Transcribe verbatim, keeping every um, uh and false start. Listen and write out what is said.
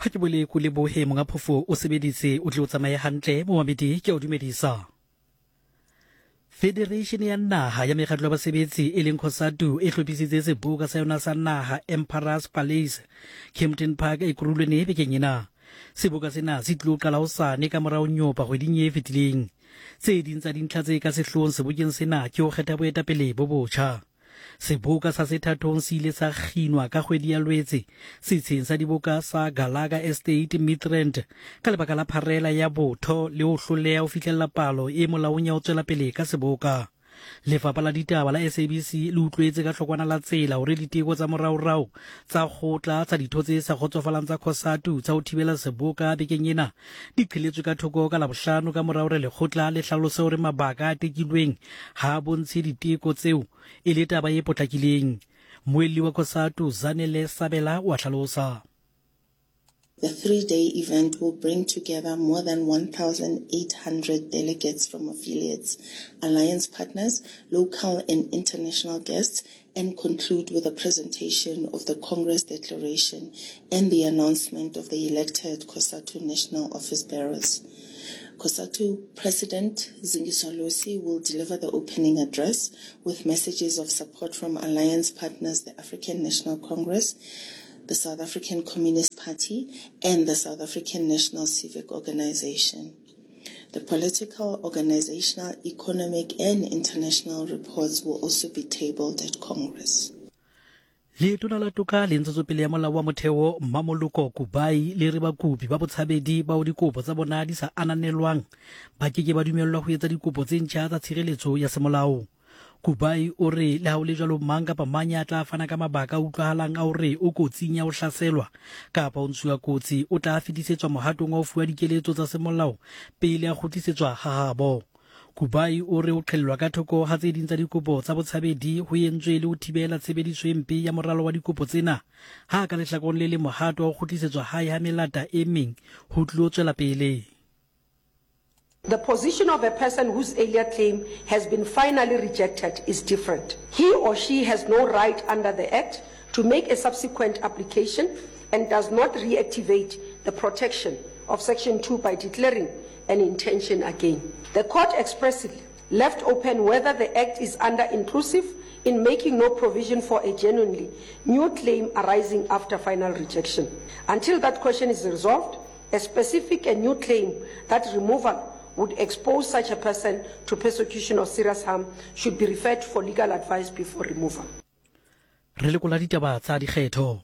Ha ke bole ko lebohe monga phofo o sebeditse o tle o tsamaye hantle momamedi ke o dumedisa. Federation ya naha ya mekgatlo ya basebetsi e leng COSATU e hlophisitse seboka sa yona sa naha Emperors Palace Kempton Park Ekurhuleni bekeng ena. Seboka sena se tlilo qala hosane ka mora ho nyopa kgweding e fetileng. Tse ding tsa dintlha tse ka sehloohong sebokeng sena ke ho kgetha boetapele bo botjha. Seboka sa sethathong se ile sa kginwa ka kgwedi ya Lwetse setsheng sa diboka sa Galaga Estate Midrand ka lebaka la pharela ya botho le ho hloleha ho fihlella palo e molaong ya ho tswela pele ka seboka. Lefapha la ditaba la S A B C le utlwetse ka hlokwana la tsela hore diteko tsa moraorao tsa kgotla tsa ditho tse sa kgotsofalang tsa COSATU tsa ho thibela seboka bekeng ena di qheletswe ka thoko ka Labohlano ka mora hore lekgotla le hlalose hore mabaka a tekilweng ha a bontshe diteko tseo e le taba e potlakileng. Moelli wa COSATU Zanele Sabela o a hlalosa. The three-day event will bring together more than one thousand eight hundred delegates from affiliates, alliance partners, local and international guests, and conclude with a presentation of the Congress Declaration and the announcement of the elected COSATU National Office Bearers. COSATU President Zingiswa Losi will deliver the opening address with messages of support from alliance partners, the African National Congress, the South African Communist Party, and the South African National Civic Organization. The political, organizational, economic, and international reports will also be tabled at Congress. Letona la toka le ntshetsopele ya molao wa motheo Mmamoloko Kubayi le re bakopi ba botshabedi bao dikopo tsa bona di sa ananelwang ba ke ke ba dumellwa ho etsa dikopo tse ntjha tsa tshireletso ya semolao. Kubayi o re le ha ho le jwalo mang kapa mang ya tla fana ka mabaka a utlwahalang a hore o kotsing ya ho hlaselwa kapa o ntshuwa kotsi o tla fetisetswa mohatong wa ho fuwa dikeletso tsa semolao pele a kgutlisetswa ha habo. Kubayi o re o qhellwa ka thoko ha tse ding tsa dikopo tsa botshabedi ho entswe le ho thibela tshebediso e mpe ya moralo wa dikopo tsena, ha ka lehlakoreng le le mohato wa ho kgutlisetswa hae ha melata e meng ho tlilo tswela pele. The position of a person whose earlier claim has been finally rejected is different. He or she has no right under the Act to make a subsequent application and does not reactivate the protection of Section two by declaring an intention again. The court expressly left open whether the Act is under-inclusive in making no provision for a genuinely new claim arising after final rejection. Until that question is resolved, a specific and new claim that removal would expose such a person to persecution or serious harm should be referred for legal advice before removal. Re lekola ditaba tsa dikgetho.